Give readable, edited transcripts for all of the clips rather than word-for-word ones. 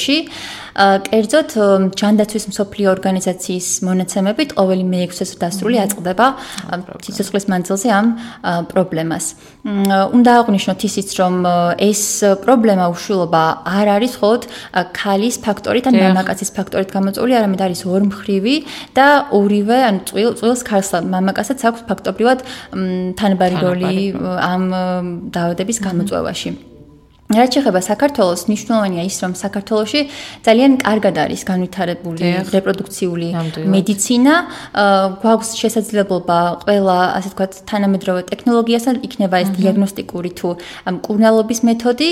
პერიოდში კერძოდ ჯანდაცვის მსოფლიო ორგანიზაციის მონაცემებით ყოველი მე-6 დასრული აწყდება სიცოცხლის მანძილზე ამ პრობლემას. უნდა აღვნიშნოთ ისიც, რომ ეს პრობლემა უშვილობა არ არის მხოლოდ ქალის ფაქტორით ან მამაკაცის ფაქტორით გამოწვეული, არამედ არის ორმხრივი და ორივე, ანუ წყვილს ქალს და მამაკაცსაც აქვს ფაქტობრივად თანაბარი როლი ამ დაავადების გამოწვევაში. რაც შეეხება საქართველოს, მნიშვნელოვანია ის, რომ საქართველოში ძალიან კარგად არის განვითარებული რეპროდუქციული მედიცინა, გვაქვს შესაძლებლობა ყველა, ასე ვთქვათ, თანამედროვე ტექნოლოგიასთან იქნება ეს დიაგნოსტიკური თუ მკურნალობის მეთოდი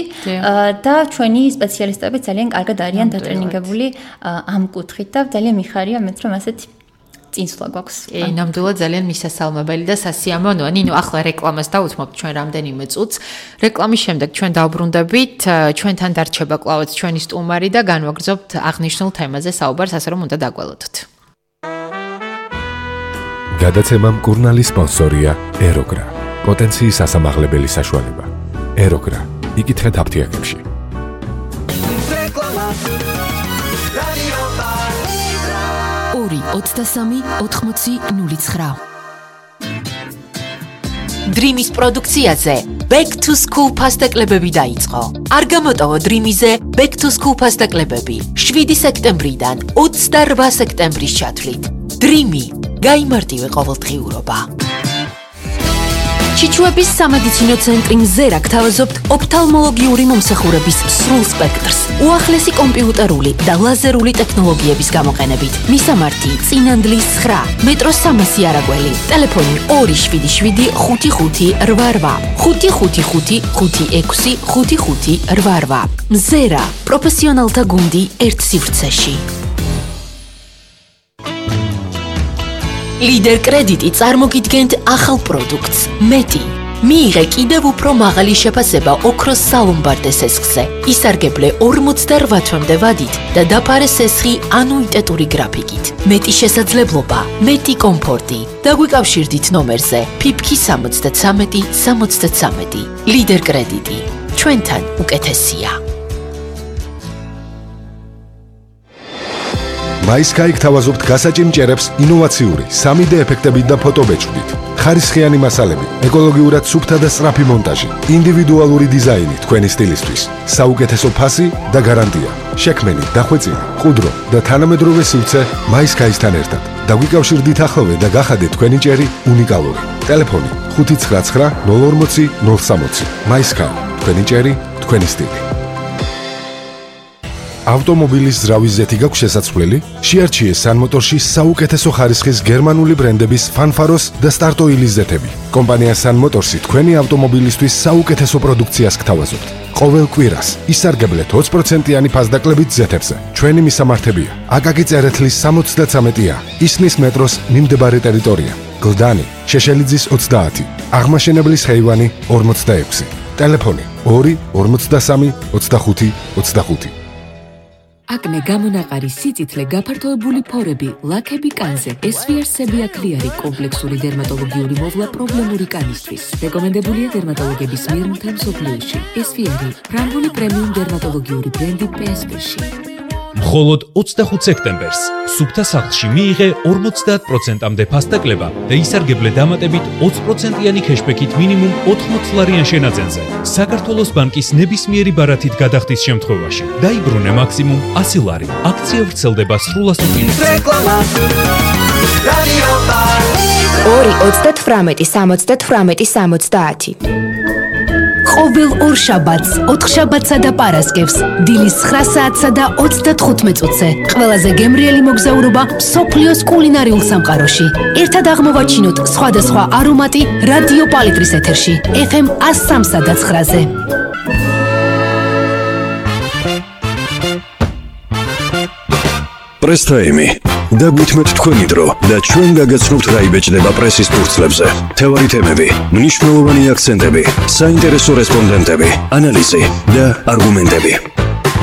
და ჩვენი სპეციალისტები ძალიან კარგად არიან დატრენინგებული ამ კუთხით და ძალიან მიხარია მეც რომ ასეთი წინსვლა გვაქვს. ნამდვილად ძალიან მისასალმებელი და სასიამოვნოა. ნინო, ახლა რეკლამას დავუთმობთ ჩვენ რამდენიმე წუთს. რეკლამის შემდეგ ჩვენ დავბრუნდებით, ჩვენთან დარჩება კვლავაც ჩვენი სტუმარი და განვაგრძობთ აღნიშნულ თემაზე საუბარს, ასე რომ უნდა დაგველოდოთ. გადაცემა მკურნალის სპონსორია ეროგრა. პოტენციის ასამაღლებელი საშუალება. ეროგრა. იკითხეთ აფთიაქებში. 23-80-09. Dreamis პროდუქციაზე Back to School ფასტაკლებები დაიწყო. არ გამოტოვო Dreamize Back to School ფასტაკლებები 7 სექტემბრიდან 28 სექტემბრის ჩათვლით. Dreami გაიმარტივე ყოველდღიურობა. ჩიჩუების სამედიცინო ცენტრი მზერა გთავაზობთ ოფთალმოლოგიური მომსახურების სრულ სპექტრს, უახლესი კომპიუტერული და ლაზერული ტექნოლოგიების გამოყენებით. მისამართი: წინანდლის 9, მეტროს 300 არაგველი, ტელეფონი 277 55 88, 555 56 55 88. მზერა, პროფესიონალთა გუნდი ერთ სივრცეში. Lider კრედიტი წარმოგიდგენთ ახალ პროდუქტს. მეტი. მიიღე კიდევ უფრო მაღალი შეფასება ოქროს სალომბარდე სესხზე. ისარგებლე 48 თვემდე ვადით და დაფარე სესხი ანუიტეტური გრაფიკით. მეტი შესაძლებლობა, მეტი კომფორტი. დაგვიკავშირდით ნომერზე PIPK 73 73. Lider კრედიტი. ჩვენთან უკეთესია. MySky გთავაზობთ გასაჭიმჭერებს ინოვაციური 3D ეფექტებით და ფოტობეჭდით. ხარისხიანი მასალები, ეკოლოგიურად სუფთა და სწრაფი მონტაჟი, ინდივიდუალური დიზაინი თქვენი სტილისთვის, საუკეთესო ფასი და გარანტია. შექმენი, დახვეწილი, ყუდრო და თანამედროვე სივრცე MySky-სთან ერთად. დაგვიკავშირდით ახლოვე და გახადეთ თქვენი ჭერი უნიკალური. ტელეფონი 599 040 060. MySky, თქვენი ჭერი, თქვენი სტილი. ავტომობილის ზრავის ზეთი გაქვს შესაძლებელი? შეარჩიე სანმოტორში საუკეთესო ხარისხის გერმანული ბრენდების ფანფაროს და სტარტოილის ზეთები. კომპანია სანმოტორსი თქვენი ავტომობილისთვის საუკეთესო პროდუქციას გთავაზობთ. ყოველ კვირას ისარგებლეთ 20%-იანი ფასდაკლებით ზეთებზე. ჩვენი მისამართებია: აკაკი წერეთლის 73-ა, ისნის მეტროს მიმდებარე ტერიტორია, გლდანი, შეშელიძის 30, აღმაშენებლის ხეივანი 46. ტელეფონი 2 53 25 25. აკნე გამონაყარი სიწითლე გაფართოებული ფორები, ლაქები კანზე, SVR-სები აკლიარი კომპლექსური დერმატოლოგიური მოვლა პრობლემური კანისთვის. რეკომენდებულია დერმატოლოგების მიერ მთელ მსოფლიოში. SVR-ი ფრანგული პრემიუმ დერმატოლოგიური ბრენდი PSP-ში. მხოლოდ 25 სექტემბერს სუფთა სახლში მიიღე 50%-მდე ფასდაკლება და ისარგებლე დამატებით 20%-იანი ქეშბექით მინიმუმ 80 ლარიან შენაძენზე. საქართველოს ბანკის ნებისმიერი ბარათით გადახდის შემთხვევაში დაიბრუნე მაქსიმუმ 100 ლარი. აქცია ვრცელდება სრულ ასოციაციებში. 2-38-70-70. ყოველ ორ შაბათს, 4 შაბათსა და პარასკევს, დილის 9 საათსა და 35 წუთზე, ყველაზე გემრიელი მოგზაურობა მსოფლიოს კულინარიულ სამყაროში. ერთად აღმოვაჩინოთ სხვადასხვა არომატი რადიო პალიტრის ეთერში, FM 103.9-ზე. პრესტაიმი. დაგვითმეთ თქვენი დრო და ჩვენ გაგაცნობთ რა იბეჭდება პრესის ფურცლებზე. თევარი თემები, მნიშვნელოვანი აქცენტები, საინტერესო რესპონდენტები, ანალიზი და არგუმენტები.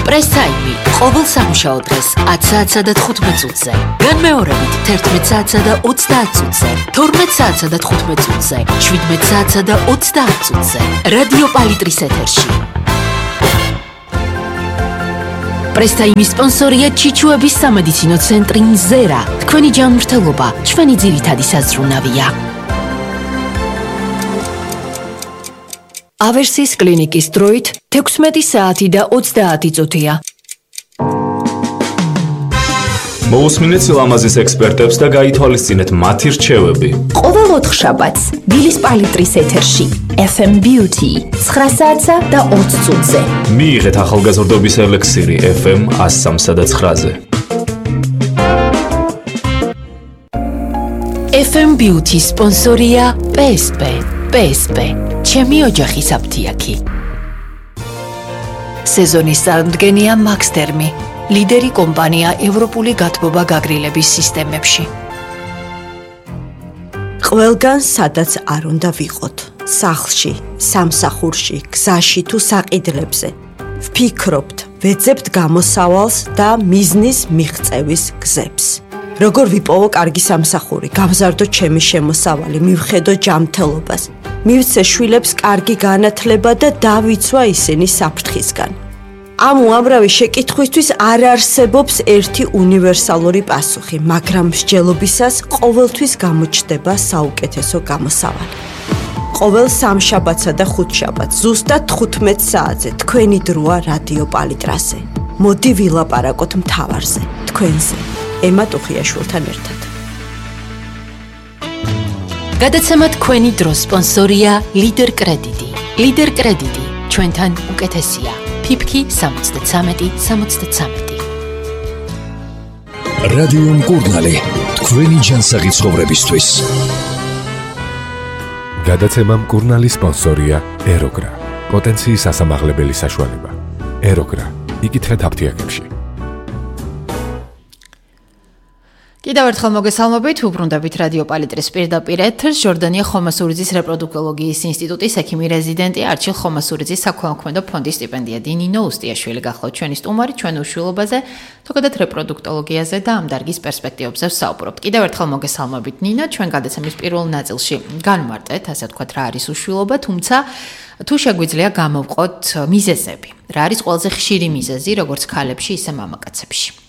პრესტაიმი ყოველ სამუშაო დღეს 10 საათსა და 15 წუთზე. განმეორებით 11 საათსა და 30 წუთზე, 12 საათსა და 15 წუთზე, 17 საათსა და 30 წუთზე. რადიო პალიტრის ეთერში. პრესტაიმის სპონსორია ჩიჩუების სამედიცინო ცენტრი მზერა. თქვენი ჯანმრთელობა ჩვენი ძირითადი საზრუნავია. ავერსის კლინიკის დროით 16 საათი და 30 წუთია. მოусმინეთ სილამაზის ექსპერტებს და გაითვალისწინეთ მათი რჩევები. ყოველ 4 შაბათს დილის პალიტრის ეთერში FM Beauty 9 საათსა და 20 წუთზე. მიიღეთ ახალგაზრდობის ელექსირი FM 103 და 9-ზე. FM Beauty სპონსორია PSP. PSP. ჩემი ოჯახის აფთიაქი. სეზონის წარმდგენია Max Termi. ლიდერი კომპანია ევროპული გათბობა გაგრილების სისტემებში. ყველგან სადაც არ უნდა ვიყოთ, სახლში, სამსახურში, გზაში თუ საყიდლებზე. ვფიქრობთ, ვეძებთ გამოსავალს და მიზნის მიღწევის გზებს. როგორ ვიპოვო კარგი სამსახური, გავზარდო ჩემი შემოსავალი, მივხედო ჯანმრთელობას, მივცე შვილებს კარგი განათლება და დავიცვა ისინი საფრთხისგან. ამ უამრავი შეკითხვისთვის არ არსებობს ერთი უნივერსალური პასუხი, მაგრამ მსჯელობისას ყოველთვის გამოჩნდება საუკეთესო გამოსავალი. ყოველ სამშაბათსა და ხუთშაბათს ზუსტად 15 საათზე თქვენი დროა რადიო პალიტრაზე. მოდი ვილაპარაკოთ მთავარზე, თქვენზე, ემა ტუხიაშვილთან ერთად. გადაცემა თქვენი დროს სპონსორია ლიდერ კრედიტი. ლიდერ კრედიტი ჩვენთან უკეთესია. ფიფკი 73-73. რადიო მკურნალი, თქვენი ჯანსაღი ცხოვრებისთვის. გადაცემა მკურნალის სპონსორია ეროგრა. პოტენციის ასამაღლებელი საშუალება. ეროგრა. იკითხეთ აფთიაქებში. კიდევ ერთხელ მოგესალმებით, უბრუნდებით რადიო პალიტრის პირდაპირ ეთერს. ჟორდანია ხომასურიძის რეპროდუქტოლოგიის ინსტიტუტის ექიმი რეზიდენტი, არჩილ ხომასურიძის საქველმოქმედო ფონდის სტიპენდიადი ნინო უსტიაშვილი გახლავთ ჩვენი სტუმარი, ჩვენ უშვილობაზე, თოგადად რეპროდუქტოლოგიაზე და ამ დარგის პერსპექტივებზე ვსაუბრობთ. კიდევ ერთხელ მოგესალმებით ნინო, ჩვენ გადაცემის პირველ ნაწილში განვარტეთ, ასე ვთქვათ, რა არის უშვილობა, თუმცა თუ შეგვიძლია გამოვყოთ მიზეზები. რა არის ყველაზე ხშირი მიზეზი, როგორც ქალებში, ისე მამაკაცებში?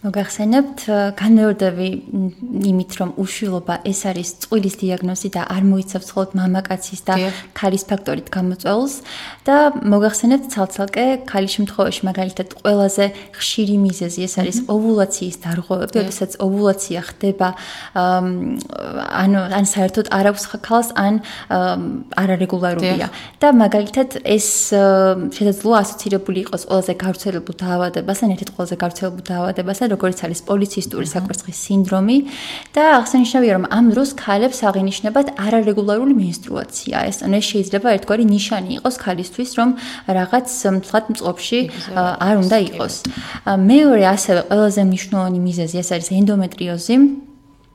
მოგახსენებთ, განმეორდები იმით, რომ უშვილობა ეს არის წყვილის დიაგნოზი და არ მოიცავს მხოლოდ მამაკაცის და ქალის ფაქტორით გამოწვეულს და მოგახსენებთ ცალ-ცალკე ქალის შემთხვევაში მაგალითად ყველაზე ხშირი მიზეზი ეს არის ოვულაციის დარღვევები, როდესაც ოვულაცია ხდება ან საერთოდ არ აქვს ქალს, ან არარეგულარულია და მაგალითად ეს შესაძლოა ასოცირებული იყოს ყველაზე გავრცელებულ დაავადებასთან, ერთ-ერთ ყველაზე გავრცელებულ დაავადებასთან, როგორც არის პოლიცისტური საკვერცხის სინდრომი და აღსანიშნავია, რომ ამ დროს ქალებს აღინიშნებათ არარეგულარული მენსტრუაცია. ეს შეიძლება ერთგვარი ნიშანი იყოს ქალისთვის, რომ რაღაც მსხვილ მწყობში არ უნდა იყოს. მეორე ასევე ყველაზე მნიშვნელოვანი მიზეზი ეს არის ენდომეტრიოზი,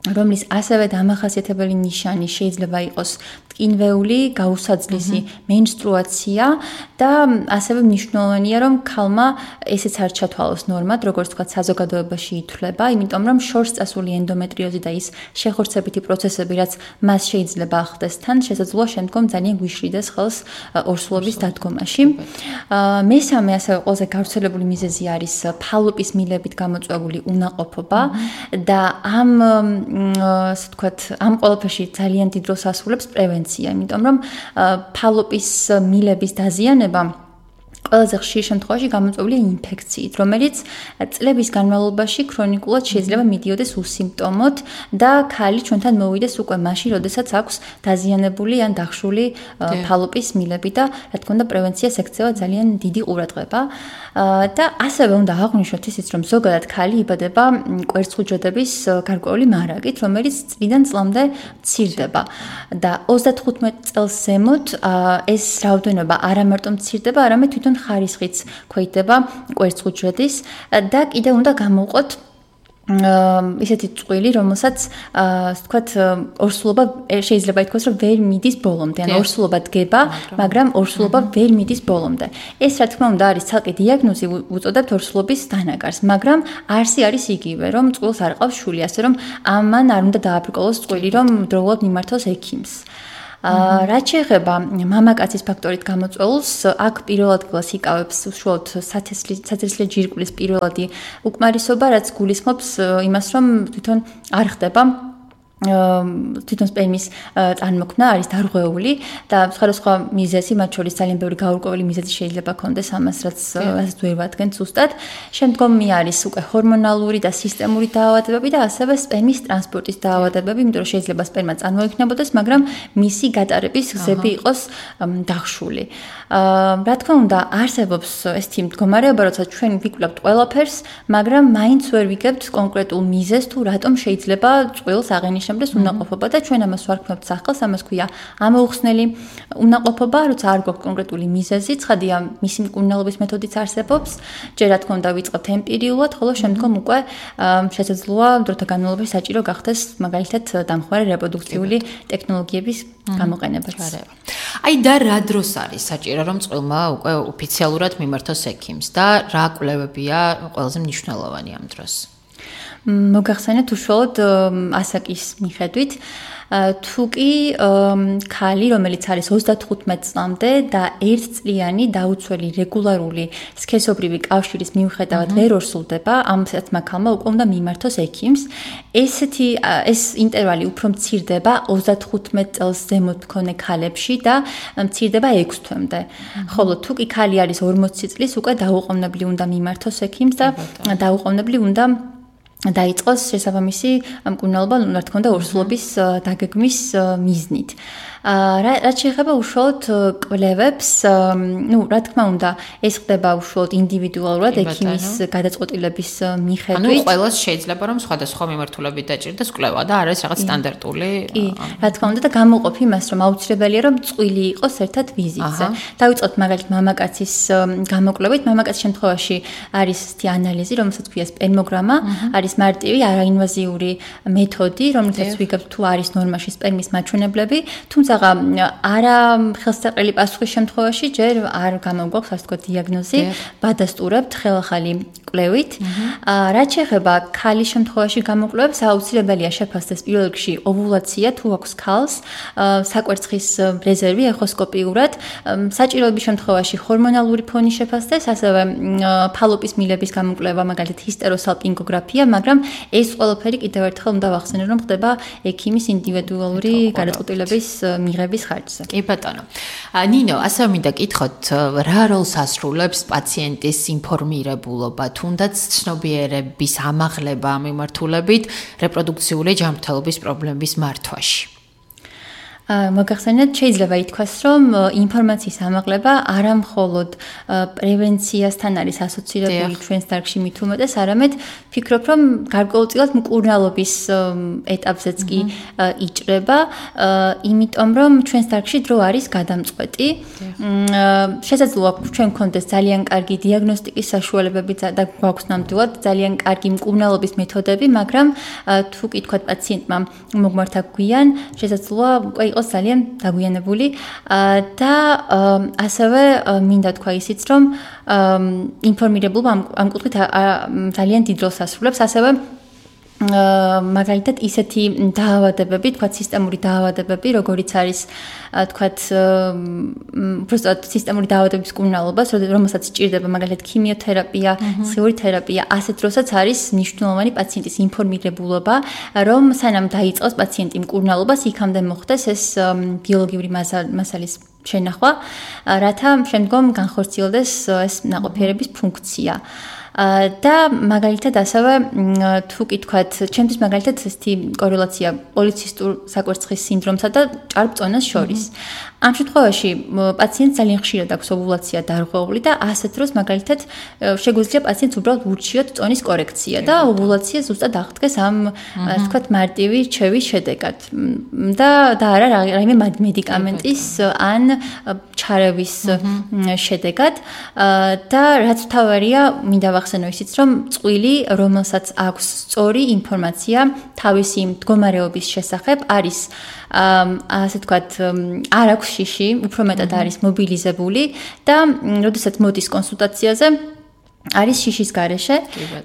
რომლის ასევე დამახასიათებელი ნიშანი შეიძლება იყოს ტკინვეული, გაუსაძლისი მენსტრუაცია და ასევე მნიშვნელოვანია, რომ ქალმა ესეც არ ჩათვალოს ნორმად, როგორც თქვა, საზოგადოებაში ითვლება, იმიტომ რომ შორს წასული ენდომეტრიოზი და ის შეხორცებითი პროცესები, რაც მას შეიძლება ახდეს თან, შესაძლოა შემდგომ ძალიან გვიშრიდეს ხელს ორსულობის დადგომაში. მესამე ასევე ყველაზე გავრცელებული მიზეზი არის ფალოპის მილებით გამოწვეული უნაყოფობა და ასე ვთქვათ, ამ ყველაფერში ძალიან დიდ როლს ასრულებს პრევენცია, იმიტომ რომ ფალოპის მილების დაზიანება ყველაზე ხშირ შემთხვევაში გამოწვეულია ინფექციით, რომელიც წლების განმავლობაში ქრონიკულად შეიძლება მიდიოდეს უსიმპტომოდ და ქალი ჩვენთან მოვიდეს უკვე მაშინ, როდესაც აქვს დაზიანებული ან დახშული ფალოპის მილები და რა თქმა უნდა პრევენციას ექცევა ძალიან დიდი ყურადღება და ასევე უნდა აღვნიშნოთ ისიც, რომ ზოგადად ქალი იბადება კვერცხუჯრედების გარკვეული მარაგით, რომელიც წლიდან წლამდე მცირდება და 35 წელს ზემოთ ეს რაოდენობა არა მარტო მცირდება, არამედ თვითონ ხარისხიც ქვეითდება კვერცხუჯრედის და კიდევ უნდა გამოვყოთ ისეთი წყვილი, რომელსაც ვთქვათ, ორსულობა შეიძლება ითქვას, რომ ვერ მიდის ბოლომდე, ან ორსულობა დგება, მაგრამ ორსულობა ვერ მიდის ბოლომდე. ეს რა თქმა უნდა არის ცალკე დიაგნოზი, უწოდებთ ორსულობის დანაკარს, მაგრამ არსი არის იგივე, რომ წყვილს არ ყავს შვილი, ასე რომ ამან არ უნდა დააბრკოლოს წყვილი, რომ დროულად მიმართოს ექიმს. რაც შეეხება მამაკაცის ფაქტორით გამოწვეულს, აქ პირველ ადგილას იკავებს უშუალოდ სათესლე ჯირკვლის პირველადი უკმარისობა, რაც გულისხმობს იმას, რომ თვითონ არ ხდება თვითონ სპერმის წარმოქმნა არის დარღვეული და სხვადასხვა მიზეზი, მათ შორის ძალიან ბევრი გაურკვეველი მიზეზი შეიძლება ქონდეს ამას, რაც ვერ ვადგენთ ზუსტად. შემდგომი არის უკვე ჰორმონალური და სისტემური დაავადებები და ასევე სპერმის ტრანსპორტის დაავადებები, იმიტომ რომ შეიძლება სპერმა წარმოიქმნებოდეს, მაგრამ მისი გატარების გზები იყოს დახშული. რა თქმა უნდა, არსებობს ესეთი მდგომარეობა, როცა ჩვენ ვიკვლევთ ყველაფერს, მაგრამ მაინც ვერ ვიგებთ კონკრეტულ მიზეზს თუ რატომ შეიძლება წყვილს აღენიშნებდეს უნაყოფობა და ჩვენ ამას ვარქმევთ სახელს, ამას ქვია ამოუხსნელი უნაყოფობა, როცა არ გვაქვს კონკრეტული მიზეზი, ცხადია მისი მკურნალობის მეთოდიც არსებობს, ჯერ რა თქმა უნდა ვიწყებთ ემპირიულად, ხოლო შემდგომ უკვე შესაძლოა დროთა განმავლობაში საჭირო გახდეს მაგალითად დამხმარე რეპროდუქციული ტექნოლოგიების გამოყენებაც. აი და რა დროს არის საჭირო რომ წყვილმა უკვე ოფიციალურად მიმართოს ექიმს და რა კვლევებია ყველაზე მნიშვნელოვანი ამ დროს? მოგახსენეთ უშუალოდ ასაკის მიხედვით თუ კი ქალი, რომელიც არის 35 წლამდე და 1 წლიანი დაუცველი რეგულარული სქესობრივი კავშირის მიუხედავად ვერ ორსულდება, ამათმა ქალმა უკვე უნდა მიმართოს ექიმს. ეს ინტერვალი უფრო მცირდება 35 წელს ზემოთ მქონე ქალებში და მცირდება 6 თვემდე. ხოლო თუ კი ქალი არის 40 წლის, უკვე დაუყოვნებლივ უნდა მიმართოს ექიმს და დაუყოვნებლივ უნდა დაიწყოს შესაბამისი მკურნალობა, რა თქმა უნდა, ორსულობის დაგეგმვის მიზნით. რაც შეეხება უშუალოდ კვლევებს, რა თქმა უნდა, ეს ხდება უშუალოდ ინდივიდუალურად ექიმის გადაწყვეტილების მიხედვით. ანუ ყველას შეიძლება რომ სხვადასხვა მიმართულებით დაჭირდეს კვლევა და არ არის რაღაც სტანდარტული. კი, რა თქმა უნდა და გამოყოფ იმას, რომ აუცილებელია რომ წყვილი იყოს ერთად ვიზიტზე. დავიწყოთ მაგალითად მამაკაცის გამოკვლევით. მამაკაცის შემთხვევაში არის ესეთი ანალიზი, რომელსაც ქვია სპერმოგრამა, არის მარტივი არაინვაზიური მეთოდი, რომელსაც ვიგებთ თუ არის ნორმაში სპერმის მაჩვენებლები, თუმცა არა ხელსაყრელი პასუხის შემთხვევაში ჯერ არ გამოგვაქვს ასე ვთქვათ დიაგნოზი, ვადასტურებთ ხელახალი კვლევით. რაც შეეხება ქალის შემთხვევაში გამოკვლევებს, აუცილებელია შეფასდეს პირველ რიგში ოვულაცია თუ აქვს ქალს, საკვერცხის რეზერვი ეხოსკოპიურად, საჭიროების შემთხვევაში ჰორმონალური ფონი შეფასდეს, ასევე ფალოპის მილების გამოკვლევა, მაგალითად ჰისტეროსალპინგოგრაფია, მაგრამ ეს ყველაფერი კიდევ ერთხელ უნდა ვახსენო, რომ ხდება ექიმის ინდივიდუალური გადაწყვეტილების მიღების ხარჯზე. კი ბატონო. ნინო, ასე მინდა კითხოთ, რა როლს ასრულებს პაციენტის ინფორმირებულობა, თუნდაც ცნობიერების ამაღლება მიმართულებით რეპროდუქციული ჯანმრთელობის პრობლემების მართვაში? მოგახსენეთ, შეიძლება ითქვას, რომ ინფორმაციის ამაღლება არა მხოლოდ პრევენციასთან არის ასოცირებული ჩვენს დარგში მით უმეტეს, არამედ ფიქრობ, რომ გარკვეულწილად მკურნალობის ეტაპზეც კი იჭრება, იმიტომ რომ ჩვენს დარგში დრო არის გადამწყვეტი. შესაძლოა ჩვენ გქონდეს ძალიან კარგი დიაგნოსტიკის საშუალებები და გვაქვს ნამდვილად ძალიან კარგი მკურნალობის მეთოდები, მაგრამ თუ კი თქვათ პაციენტმა მოგმართა გვიან, შესაძლოა უკვე იყოს ძალიან დაგვიანებული და ასევე მინდა თქვა ისიც, რომ ინფორმირებულობა ამ კუთხით ძალიან დიდ როლს ასრულებს, ასევე მაგალითად ისეთი დაავადებები, თქვათ სისტემური დაავადებები, როგორიც არის თქვათ უბრალოდ სისტემური დაავადების მკურნალობა, რომელსაც სჭირდება მაგალითად ქიმიოთერაპია, სხეული თერაპია, ასეთ დროსაც არის მნიშვნელოვანი პაციენტის ინფორმირებულობა, რომ სანამ დაიწყოს პაციენტი მკურნალობას, იქამდე მოხდეს ეს ბიოლოგიური მასალის შენახვა, რათა შემდგომ განხორციელდეს ეს ნაყოფიერების ფუნქცია. და მაგალითად ასევე თუ კი თქვათ, ჩემთვის მაგალითად ესეთი კორელაცია პოლიცისტურ საკვერცხის სინდრომსა და ჭარბწონას შორის. ამ შემთხვევაში პაციენტს ძალიან ხშირად აქვს ოვულაცია დარღვეული და ასეთ დროს მაგალითად შეგვიძლია პაციენტს უბრალოდ ურჩიოთ წონის კორექცია და ოვულაცია ზუსტად აღდგეს ამ ასე ვთქვათ მარტივი რჩევის შედეგად. და არა რაიმე მედიკამენტის ან ჩარევის შედეგად და რაც თავარია მინდა ვახსენო ისიც, რომ წყვილი, რომელსაც აქვს სწორი ინფორმაცია თავისი მდგომარეობის შესახებ, არის ასე ვთქვათ, არ აქვს შიში, უფრო მეტად არის მობილიზებული და როდესაც მოდის კონსულტაციაზე არის შიშის გარეშე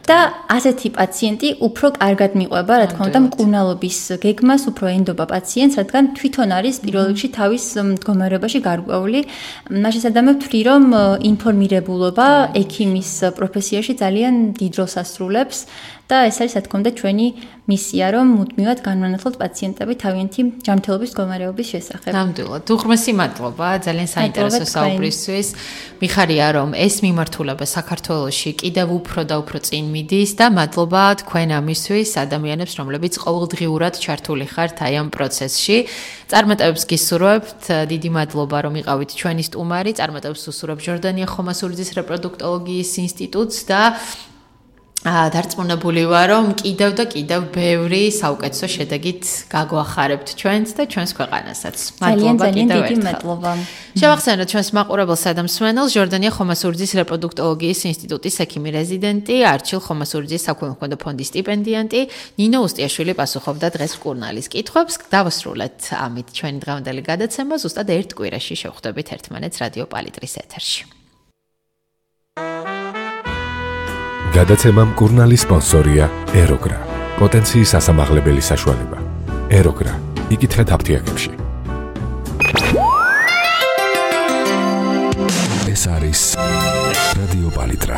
და ასეთი პაციენტი უფრო კარგად მიყვება, რა თქმა უნდა, მკურნალობის გეგმას უფრო ენდობა პაციენტს, რადგან თვითონ არის პირველ რიგში თავის მდგომარეობაში გარკვეული. მაშინ სადამებ ვთვლი, რომ ინფორმირებულობა ექიმის პროფესიაში ძალიან დიდ როლს ასრულებს და ეს არის, რა თქმა უნდა, ჩვენი მისია, რომ მუდმივად განვანათლოთ პაციენტები თავიანთი ჯანმრთელობის მდგომარეობის შესახებ. ნამდვილად. უღრმესი მადლობა, ძალიან საინტერესო საუბრისთვის. მიხარია, რომ ეს მიმართულება საქართველოში კიდევ უფრო და უფრო წინ მიდის და მადლობა თქვენ ამისთვის ადამიანებს, რომლებიც ყოველდღიურად ჩართული ხართ აი ამ პროცესში. წარმატებებს გისურვებთ. დიდი მადლობა, რომ იყავით ჩვენი სტუმარი. წარმატებებს უსურვებ ჟორდანია ხომასურიძის რეპროდუქტოლოგიის ინსტიტუტს და დარწმუნებული ვარ, რომ კიდევ და კიდევ ბევრი საუკეთესო შედეგით გაგვახარებთ ჩვენს და ჩვენს ქვეყანასაც. მადლობა კიდევ ერთხელ. მადლობა. შევახსენოთ ჩვენს მაყურებელს და მსმენელს ჟორდანია ხომასურიძის რეპროდუქტოლოგიის ინსტიტუტის ექიმი რეზიდენტი, არჩილ ხომასურიძის საქველმოქმედო ფონდის სტიპენდიანტი, ნინო უსტიაშვილი პასუხობდა დღეს მკურნალის კითხვებს. დავასრულეთ ამით ჩვენი დღევანდელი გადაცემა. ზუსტად ერთ კვირაში შევხვდებით ერთმანეთს რადიო პალიტრის ეთერში. გადაცემა მკურნალის სპონსორია ეროგრა. პოტენციის ასამაღლებელი საშუალება. ეროგრა. იკითხეთ აფთიაქებში. ეს არის რადიო პალიტრა.